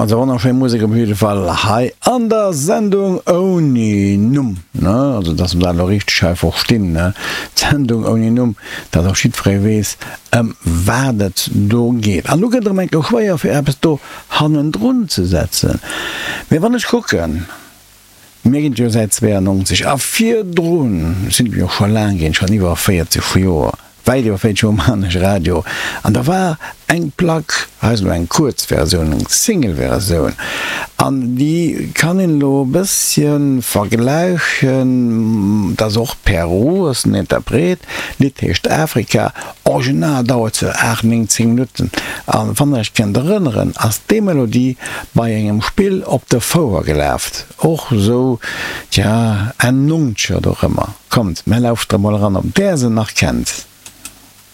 Also wonnerschéi Musek op jidde Fall hei an der Sendung ouni Numm, ne? Also dass mer dat elo richteg hei verstinn, ne? D'Sendung ouni Numm, dass och jiddweree weess, ëm wat et do geet. An elo gëtt et erëm eng Kéier schwéier, fir eppes do hannendrun ze setzen. Mee wann ech kucken, Mir ginn et jo säit 92 a virdrun sinn et jo scho laang ginn, schonn iwwer 40 Joer, wäit iwwer 40 Joer maachen ech Radio an da war eng Plack, hei ass elo eng kuerz Versioun, eng Single-Versioun an déi kann een elo e bëssche vergläichen, dat ass och Peru, ass den Interpret, d'Lidd heescht Afrika, original dauert se 8, 9, 10 Minutten a wann der iech kennt erënneren, ass déi Melodie bei engem Spill op der Fouer gelaft, och sou, tja, Enn Nonzeger dorëmmer. Kommt, mär lauschtere mol eran, ob där se nach kennt.